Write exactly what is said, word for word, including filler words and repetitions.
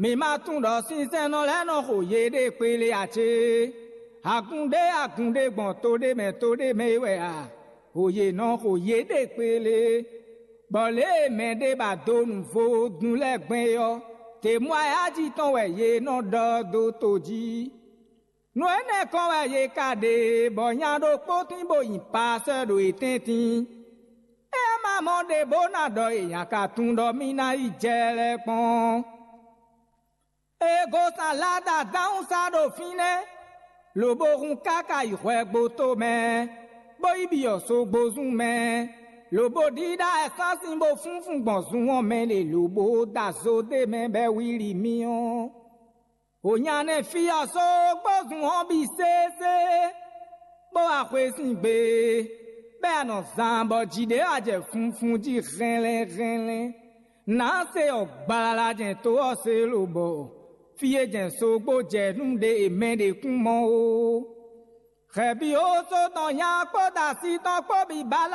Mi ma tunwun ɖɔ sinsɛnnɔ lɛ́ɛ nɔ xo yéɖée kpéle ǎ cé? Agun ɖé agun ɖé gbɔn to ɖé mɛ to ɖé mɛ é wɛ a? Xo yě nɔ xo yéɖée kpéle, bɔ lě e mɛ ɖé ba dó nǔ vodún lɛ́ɛ gbɛn é ɔ́, tě mɔ ayájí tɔn wɛ yě nɔ ɖɔ dó to jí. Nǔ énɛ́ kɔn wɛ yě ka ɖe, bɔ nya ɖokpó tín bó nyi paasɛ́ ɖo yě tɛ́ntin. É ma mɔ ɖě bó ná ɖɔ è nǎ ka tunwun ɖɔ mì ná yi jɛ lɛ́ɛ kpɔ́n. È gosán Lada dánwúsa ɖo fínɛ́, lobo hun káká yi hwɛgbo tomɛ, bó yi byɔ̌ sogbozún mɛ, lobo ɖíɖá ɛsásin bó fúnfún gbɔn zun ɔ́ mɛ ɖe, lobo da zo d'é mɛ bɔ é wlí mì ɔ́. Hǒnyanɛ́ fí ɔ́ sógbó zun ɔ́ bǐ sésé, bó wá xwé sín gbe, bɔ é nɔ zán bɔ jǐ ɖé wá jɛ funfun jí hɛnlɛ́n hɛnlɛ́n. Nǎ se ɔ́ gbalala jɛ́n to ɔ́ se lobɔ fí e jɛ́n sógbó jɛ nú ɖe e mɛ ɖě kún mɔ ó. Hɛ̌ byɔ́ só tɔn nya kpódó asi tɔn kpó bǐ bala